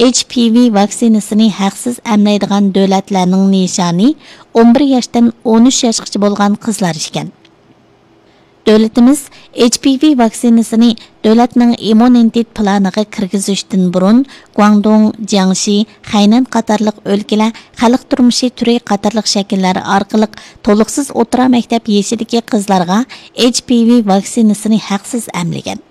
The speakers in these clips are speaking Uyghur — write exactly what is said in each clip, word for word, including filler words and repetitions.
ئېچ پى ۋى ۋاكسىنىسىنى ھەقسىز ئەملەيدىغان دۆلەتلەرنىڭ نىشانى ئون بىر ياشتىن ئون ئۈچ ياشقىچە بولغان قىزلار ئىكەن. دۆلىتىمىز ئېچ پى ۋى ۋاكسىنىسىنى دۆلەتنىڭ ئىممۇنىتېت پىلانىغا كىرگۈزۈشتىن بۇرۇن، گۇاڭدۇڭ، جياڭشى، خەينەن قاتارلىق ئۆلكىلەر خەلق تۇرمۇشى تۈرى قاتارلىق شەكىللەر ئارقىلىق تولۇقسىز ئوتتۇرا مەكتەپ يېشىدىكى قىزلارغا ئېچ پى ۋى ۋاكسىنىسىنى ھەقسىز ئەملىگەن.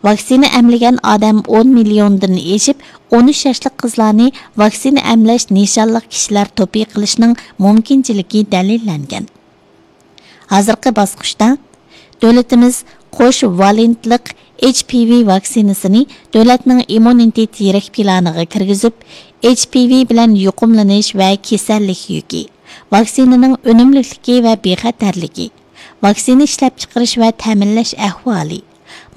ۋاكسىنا ئەملىگەن ئادەم ئون مىليوندىن ئېشىپ، ئون ئۈچ ياشلىق قىزلارنى ۋاكسىنا ئەملەش نىشانلىق كىشىلەر توپى قىلىشنىڭ مۇمكىنچىلىكى دەلىللەنگەن. ھازىرقى باسقۇچتا دۆلىتىمىز قوش ۋالېنتلىق ئېچ پى ۋى ۋاكسىنىسىنى دۆلەتنىڭ ئىممۇنىتېت يىرىك پىلانىغا كىرگۈزۈپ، ئېچ پى ۋى بىلەن يۇقۇملىنىش ۋە كېسەللىك يۈكى، ۋاكسىنىنىڭ ئۈنۈملۈكلۈكى ۋە بىخەتەرلىكى، ۋاكسىنا ئىشلەپچىقىرىش ۋە تەمىنلەش ئەھۋالى،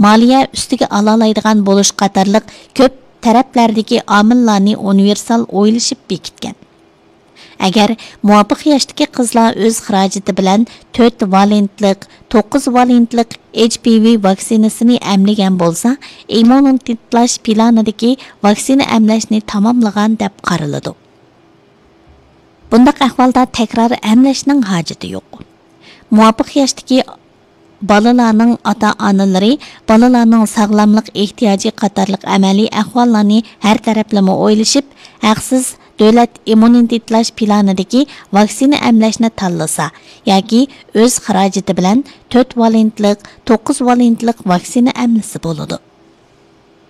مالىيە ئۈستىگە ئالالايدىغان بولۇش قاتارلىق كۆپ تەرەپلەردىكى ئامىللارنى ئۇنىۋېرسال ئويلىشىپ بېكىتكەن. ئەگەر مۇۋاپىق ياشتىكى قىزلار ئۆز خىراجىتى بىلەن تۆت ۋالېنتلىق، توققۇز ۋالېنتلىق ئېچ پى ۋى ۋاكسىنىسىنى ئەملىگەن بولسا، ئىممۇنىتېتلاش پىلانىدىكى ۋاكسىنا ئەملەشنى تاماملىغان دەپ قارىلىدۇ. بۇنداق ئەھۋالدا تەكرار ئەملەشنىڭ ھاجىتى يوق. مۇۋاپىق ياشتىكى بالىلارنىڭ ئاتا-ئانىلىرى بالىلارنىڭ ساغلاملىق ئېھتىياجى قاتارلىق ئەمەلىي ئەھۋاللارنى ھەر تەرەپلىمە ئويلىشىپ، ھەقسىز دۆلەت ئىممۇنىتېتلاش پىلانىدىكى ۋاكسىنا ئەملەشنى تاللىسا ياكى ئۆز خىراجىتى بىلەن تۆت ۋالېنتلىق، توققۇز ۋالېنتلىق ۋاكسىنا ئەملىسە بولىدۇ.